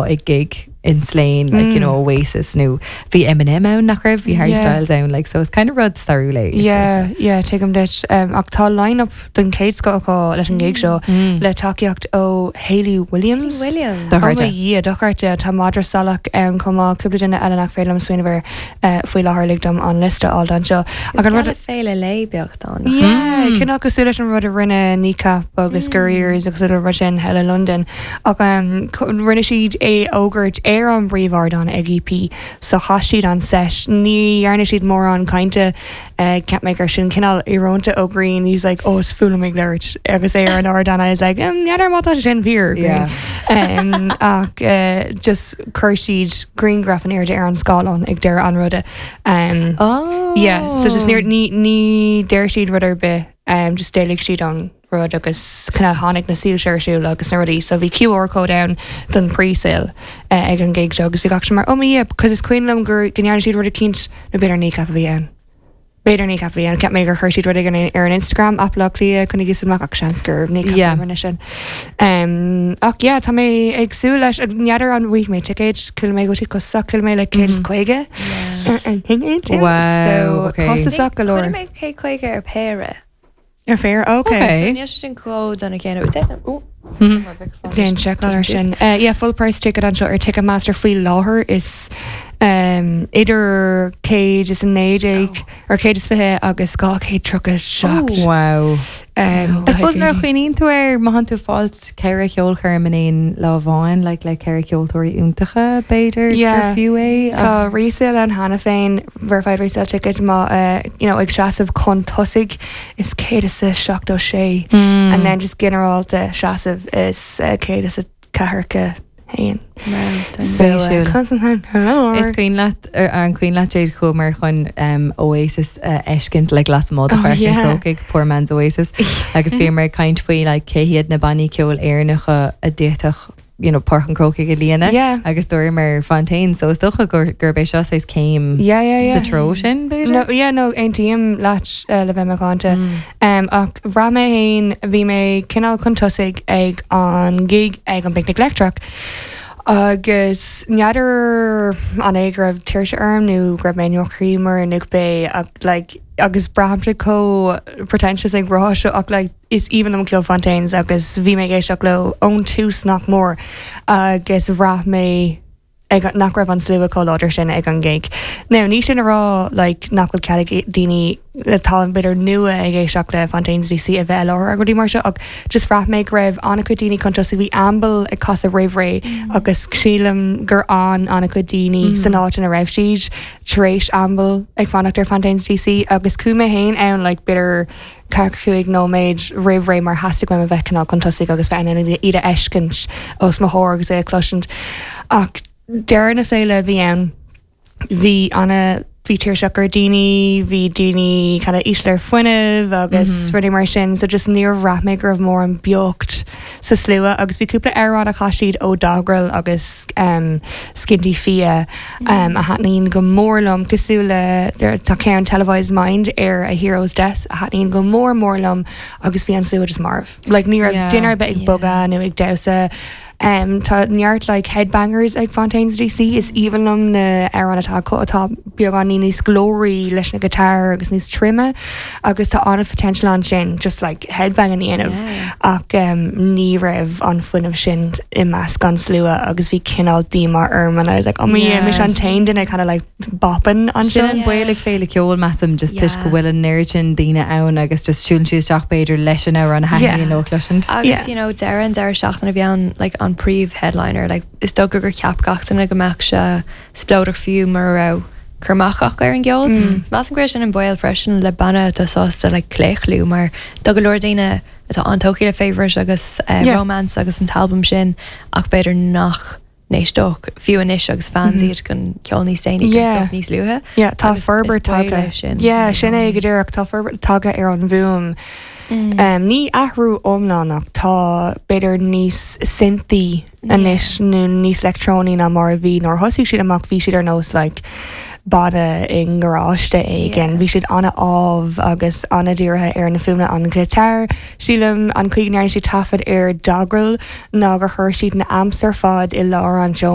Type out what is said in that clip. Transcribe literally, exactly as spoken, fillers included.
Ag gig in Slane, like you know Oasis nó bhí Eminem ann, nach raibh? Bhí Harry Yeah. Styles ann, like, so it's kind of rud stairiúil é. Yeah, yeah, tuigim duit um, ach tá line-up den chéad scoth acu leis an gig seo le tacaíocht ó Hayley Williams. Williams. Dochreidte. Dhia, dochreidte. Tá Madra Salach ann chomh maith, cúpla duine eile nach féidir liom smaoineamh air uh, faoi láthair, lig dom an liosta a fháil anseo. Ach an rud féile lé beagtán. Yeah, cineál cosúil leis an rud a rinne Kneecap agus Gorillaz agus rud sin eile London, ach um, co- rinne siad é fhógairt ar an bpríomhardán ag E P, so chaith siad an set. Ní dhearna siad mórán cainte uh, Ceap mé gur sin cineál íorónta ó Grian. He's like, "Oh, is fuath liom ag labhairt agus é ar an ardán." I was like, um, "N'fheadar má tá sin fíor." Yeah. um, ach uh, just chuir siad grianghraf in airde ar an scáileán ag deireadh an ruda um, Oh. Yeah, so just ní ní ní deir siad rud ar bith um, just d'éiligh siad an rud agus cineál tháinig na soilse ar siúl agus na rudaí, so bhí Q R code ann don pre-sale uh, ag an gig seo agus bhí gach mar, oh yeah, because is cuimhin liom gur go ndearna siad rud eicínt, nó b'fhéidir Kneecap a bhí ann. B'fhéidir Kneecap a bhí ann. Ceap mé gur chuir siad rud éigin ar an Instagram Apla Lia chun gus amach, ach seans gur Kneecap Yeah. rinne sin. Um, ach yeah, tá mé ag súil leis. N'fheadar an bhfaighidh mé ticéid. Chuala mé go bhfuil costasach, chuala mé le céad is caoga. Wow, So okay. costasach go leor. Chuala mé céad caoga ar péire. Ar phéire, okay. Okay. Níl sé sin cló dona céanna. Déan seiceáil ar sin. Uh, yeah, full price ticket anseo ar Ticketmaster faoi láthair is um, idir céad is a naoi déag ar céad is fiche agus dhá chéad tríocha seacht. Wow. Um, I suppose nuair a chuimhníonn tú air, má tú fáilt ceithre cheolchoirm in aon lá amháin, like le ceithre ceoltóirí iontacha, b'fhéidir Yeah. gur fiú é. Tá resale ann cheana féin, verified resale ticket, má uh, you know, ag seasamh chun tosaigh is céad is a seachtó sé Mm. and then just ginearálta seasamh is uh, céad is a ceathracha haon. So, uh, Spéisiúil. Is Is cuimhin leat ar an cuimhin leat Jade, chuamar chun um, Oasis uh, fheiscint le lasmuigh Oh, yeah. Chrócaigh, poor man's Oasis, agus bhíomar ag caint faoi like, cé hiad na bannaí ceoil Éireannacha a d'fhéadfadh you know, Páirc an Chrócaigh a líonadh Yeah. agus dúramar Fontaine, so is dócha gur gurb é seo saghas céim Yeah, yeah, yeah. sa treo sin, b'fhéidir? No, yeah, no, aontaím leat uh, le bheith macánta. Mm. Um, ach bhraith mé féin, bhí mé cineál chun tosaigh ag an gig ag an bPicnic Leictreach. Agus n'fheadar an é go raibh tuirse orm nó go raibh mé drochíomar nó bé ach like, agus braithimse chomh pretentious ag rá seo, ach like, is aoibhinn liom ceol Fontaines agus bhí mé ag éisteacht leo ón tús nach mór, agus bhraith mé ag nach raibh an slua chomh láidir sin ag an gig. Now, ní sin a rá like, nach bhfuil cead ag daoine atá b'fhéidir nua ag éisteacht le Fontaines D C a bheith láthair rudaí mar seo, ach just bhraith mé go raibh an-chuid daoine chun tosaigh. Bhí Amble ag casadh roimh ré agus sílim gur an an-chuid daoine san áit ina raibh siad tar éis Amble ag fanacht ar Fontaines D C, agus chuaigh mé féin ann like, b'fhéidir ceathracha cúig nóiméad roimh ré mar theastaigh uaim a bheith cineál chun tosaigh agus bheith in ann iad a fheiscint os mo chomhair agus é a chloisint. Ach deireadh na féile bhí ann, bhí ana bhí tuirseach ar daoine, bhí daoine kind of íseal ar fuinneamh agus rudaí mar sin, so just níor bhraith mé go raibh mórán beocht sa slua, agus bhí cúpla amhrán a chas siad ó Dogrel agus um, Skinty Fia um, a thaitníonn go mór liom, cosúil le there- tá ceann Televised Mind ar A Hero's Death a thaitníonn go mór mór liom, agus bhí an slua just marbh. Like, ní raibh Yeah. duine ar bith ag bogadh nó ag damhsa. Um, tá neart like headbangers ag Fontaines D C. Is aoibhinn liom na amhráin atá acu atá beagán níos glóraí leis na guitar agus níos troime, agus tá an-potential ansin just like headbang a dhéanamh, Yeah. ach um, ní raibh an fuinneamh sin i measc an slua agus bhí cineál díomá orm and I was like, "Oh my, Yeah. yeah, mise an t-aon duine kind of like bopping anseo." Sin an Yeah. baol ag féile ceoil, measaim, just toisc go Yeah. bhfuil an oiread sin daoine ann agus just siúlann siad isteach b'fhéidir leis an amhrán a Yeah. thaitníonn leo a chloisint. Agus Yeah. you know deireadh an deireadh seachtaine a bhí ann, like an príomh headliner, like is dócha gur cheap gach duine go mbeadh sé spleodrach fiú mar a raibh cur amach acu ar an gceol. Mm. Measaim go sin an baol freisin le banna atá sásta like claochlú, mar tá go leor daoine atá an-tógtha le Favourite agus uh, Yeah. Romance agus an t-albam sin, ach b'fhéidir nach n-éisteodh fiú anois agus fans iad den ceol níos déanaí, Yeah. stuff níos luaithe. Yeah, tá Agus forbairt is baol é tagtha. sin. Yeah, sin é go díreach, tá forbairt tagtha ar an bhfuaim. Mm. Um, ní athrú iomlán ach tá b'fhéidir níos synthy anois nó níos leictreonaí ná mar a bhí nuair thosaigh siad amach. Bhí siad ar nós like, banna i ngaráiste éigin. Yeah. Bhí siad an-amh agus an-dírithe ar na fuaimeanna an guitar. Sílim an chaoi a ndearna siad taifead ar Dogrel ná gur chuir siad na amps ar fad i lár an